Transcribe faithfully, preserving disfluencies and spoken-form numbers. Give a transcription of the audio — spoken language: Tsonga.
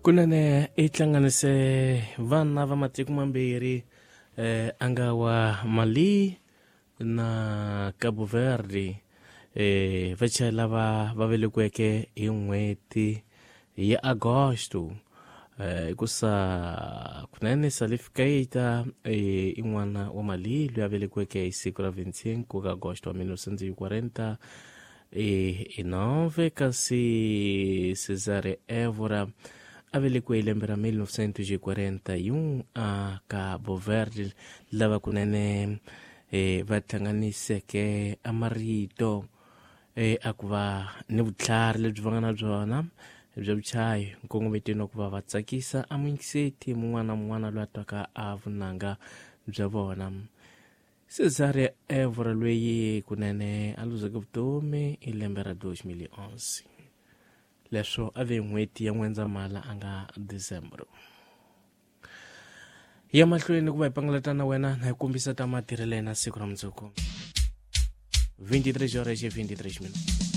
Kunene i hlanganise vana va matiko mambirhi eh, a nga wa Mali na Cabo Verde eh, vachayeri lava va velekiweke hi n'hweti ya Agosto eh, hikusa kunene Salif Keita eh, i n'wana wa Mali loyi a velekiweke hi siku ra vinticinco ka Agosto wa mil novecentos e quarenta e nove, kasi Cesare Évora a velekiwe hi lembe ra mil novecentos e quarenta e um a Cabo Verde, lava kunene eh, va hlanganiseke a marito eh, a ku va ni vutlhari lebyi va nga na byona bya vuchayi nkongometweni wa ku va va tsakisa a muyingiseti mun'wana na mun'wana loyi a twaka a vunanga bya vona. Cesare Évora loyi kunene a luzeke vutomi hi lembe ra dos mil e onze, leswo a ve n'hweti ya N'wendzamhala a nga December. Ya mahlweni ku va hi pangalata na wena na hi kombisa ta matirhelo ya hina siku ra mundzuku vinte e três horas e vinte e três minutos.